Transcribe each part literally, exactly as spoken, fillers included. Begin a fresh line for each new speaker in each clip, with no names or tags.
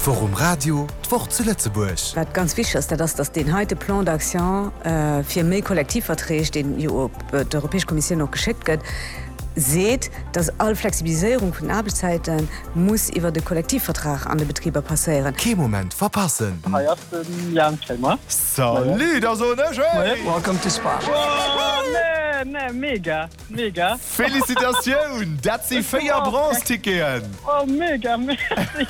D'Woch um Radio, d'Woch zu Lëtzebuerg.
Wat ganz wichteg ass, dat ass, datt deen heite Plan d'action fir méi Kollektivverträg, deen jo op d'Europäesch Kommissioun och geschéckt gëtt, seet, datt all Flexibiliséierung vun den Aarbechtszäite muss iwwert e Kollektivvertrag an de Betriber passéieren.
Kee Moment verpassen!
Hei ass de Jan Kremer.
Salut, da soen ech Hey!
Welcome to Spa.
Oh nee, nee, mega, mega.
Felicitatioun, dat si véier Bronze-Ticketen!
Oh mega, merci.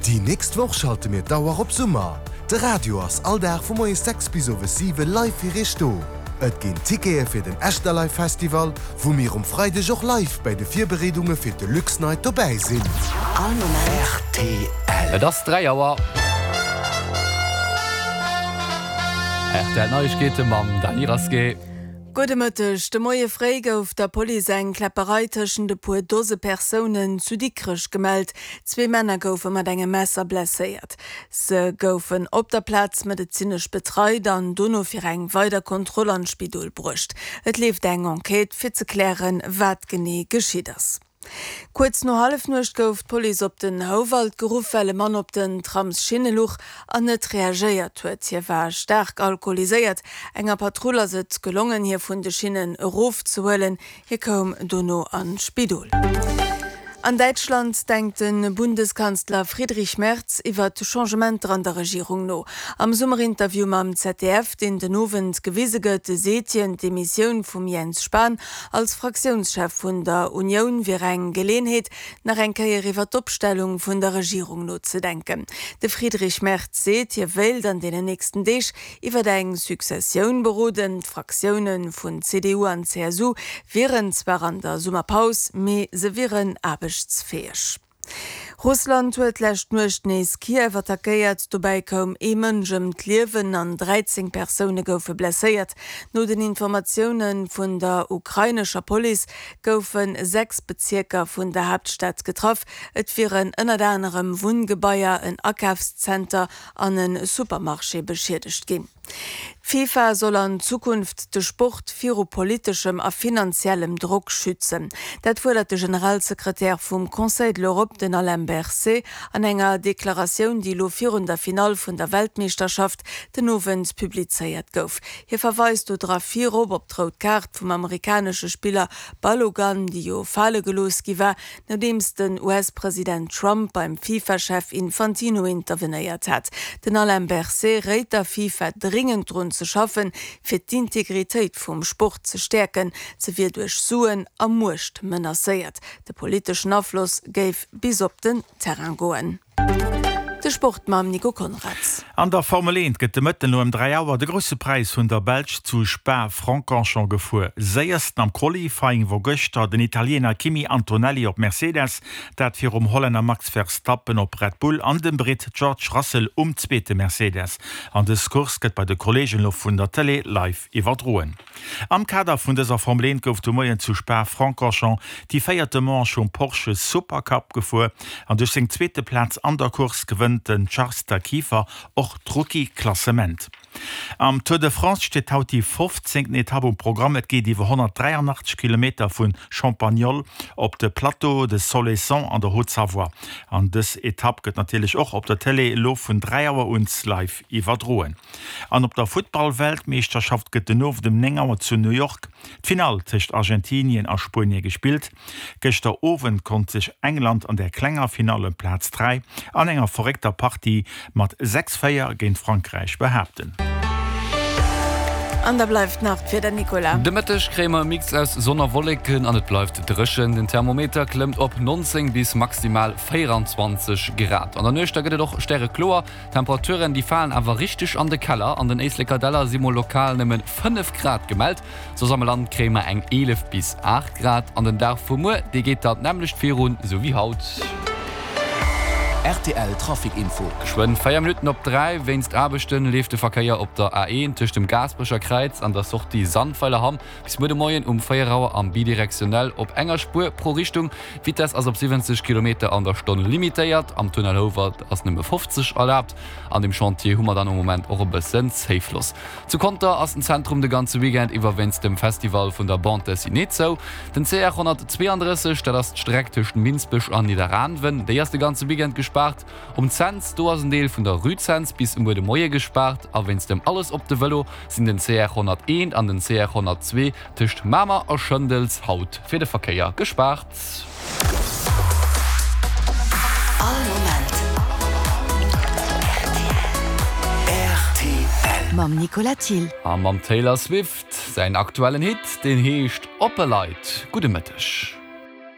Déi nächst Woch schalte mir d'Auer op Summer. De Radio ass all Dag vu moies sechs bis owes siwe live fir iech do. Et ginn Tickete fir den Echterlive Festival, wou mir um Freideg och live bäi de Virbereedunge fir d'Deluxe Night dobäi sinn.
All Moment.
R T L. Et ass dräi Auer. R T L Neiegkeete mam Dany Rasqué.
Gudde Mëtteg. De Moie fréi gouf der Police eng Kläpperei tëschent e puer Dose Persounen zu Dikrech gemellt. Zwee Männer goufe mat engem Messer blesséiert. Se goufen op der Plaz medezinesch betreit an dono fir eng weider Kontroll an d'Spidol bruecht. Et leeft eng Enquête fir ze klären, wat genee geschitt ass. Kuerz no Hallefnuecht gouf d'Police op den Houwald geruff, well e Mann op den Tramsschinne luch an net reagéiert huet. Hie war staark alkoholiséiert. Enger Patrull ass et gelongen, hie vun de Schinnen erofzehuelen. Hie koum dono an d'Spidol. An Däitschland denkt de Bundeskanzler Friedrich Merz iwwer Changementer an der Regierung no. Am Summerinterview mam Z D F, deen den Owend gewise gëtt, seet hien, d'Demissioun vum Jens Spahn als Fraktiounschef vun der Unioun wier eng Geleeënheet, nach eng Kéier iwwer d'Opstellung vun der Regierung nozedenken. De Friedrich Merz seet, hie wéilt an deenen nächsten Deeg iwwer eng Successioun beroden. D'Fraktioune vun C D U an C S U wieren zwar an der Summerpaus, mee se wieren aarbechtsfäeg. Russland huet lescht Nuecht nees Kiew attackéiert, dobäi koum ee Mënsch ëm d'Liewen an dräizéng Persoune goufe blesséiert. No den Informatioune vun der ukrainescher Police goufe sechs Bezierker vun der Haaptstad getraff. Et wieren ënnert anerem Wunngebaier, en Akafszenter an e Supermarché beschiedegt ginn. D'FIFA soll an Zukunft de Sport viru politeschem a finanziellem Drock schützen. Dat fuerdert de Generalsekretär vum Conseil de l'Europe, den Alain Berset, an enger Deklaratioun, déi elo virun der Finall vun der Weltmeeschterschaft den Owend publizéiert gouf. Hie verweist do dra virop op d'rout Kaart vum amerikanesche Spiller Balogun, déi jo fale gelooss gi war, nodeems den U S-President Trump beim FIFA-Chef Infantino intervenéiert hat. Den Alain Berset réit der FIFA dringend drun ze schaffen, fir d'Integritéit vum Sport ze stäerken, se wier duerch Suen a Muecht menacéiert. De politeschen Afloss géif bis op den Terrain goen. De Sport mam Nico Konrads.
An der Formel eent gëtt de Mëtten no ëm dräi Auer de Grousse Präis vun der Belsch zu Spa-Francorchamps gefuer. Séiersten am Qualifying wor gëschter den Italiener Kimi Antonelli op Mercedes, dat virum Hollänner Max Verstappen op Red Bull an dem Britt George Russell um zweete Mercedes. An dës Course gëtt bei de Kolleegen elo vun der Tëlee live iwwerdroen. Am Kader vun dëser Formel eent gouf de Moien zu Spa-Francorchamps déi véierte Manche vum Porsche Supercup gefuer an duerch seng zweete Plaz an der Course gewënnt den Charles Kieffer och d'Rookie-Klassement. Am Tour de France steet haut déi fofzéngten Etapp um Programm. Et geet iwwer honnertdräianachtzeg Kilometer vun Champagnole op de Plateau de Solaison an der Haute-Savoie. An dës Etapp gëtt natierlech och op der Tëlee elo vun dräi Auer un live iwwerdroen. An op der Futtball-Weltmeeschterschaft gëtt den Owend um néng Auer zu New York d'Finall tëscht Argentinien a Spuenie gespillt. Gëschter Owend konnt sech England an der klenger Finall ëm Plaz dräi an enger verréckter Partie mat sechs véier géint Frankräich behaapten.
An da bleift nach d'Wieder, Nicolas.
De Mëtteg kréie mer e Mix aus Sonn a Wolleken an et bleift dréchen. Den Thermometer klëmmt op nonzéng bis maximal véieranzwanzeg Grad. An der Nuecht da gëtt et och stärekloer. D'Temperaturen déi falen awer richteg an de Keller. An den Éisleker Däller si mol lokal nëmme fënnef Grad gemellt. Soss am Land kréie mer eng eelef bis aacht Grad. An den Dag vu muer, dee geet dann d'nämmlecht virun, sou wéi haut.
R T L Trafic Info.
Geschwënn véier Minutten op dräi. Wéinst Aarbechte leeft de Verkéier op der A eent tëscht dem Gaasperecher Kräiz an der Sortie Sandweilerhamm bis muer de Moien um véier Auer am bidirektionell op enger Spuer pro Richtung. D'Vitess ass op siwwenzeg Kilometer an der Stonn limitéiert. Am Tunnel Houwald ass nëmme fofzeg erlaabt. An dem Chantier hu mer dann am Moment och e bëssen Zéifloss. Zu Conter ass den Zentrum de ganze Weekend iwwer wéinst dem Festival vun der Bande Dessinée zou. Den C R honnertzweeandrësseg, dat ass d'Streck tëscht Minsbech an Nidderaanwen, déi ass de ganze Weekend gespaart. gespaart. Um Cents, do ass en Deel vun der Rue Cents bis muer de Moie gespaart a wéinst dem Alles op de Vëlo sinn den C R honnerteent an den C R honnertzwee tëscht Mamer a Schëndels haut fir de Verkéier gespaart.
All Moment R T L. Mam Nicolas Thill.
A mam Taylor Swift säin aktuellen Hit, deen heescht Oppe Leit. Gudde Mëtteg.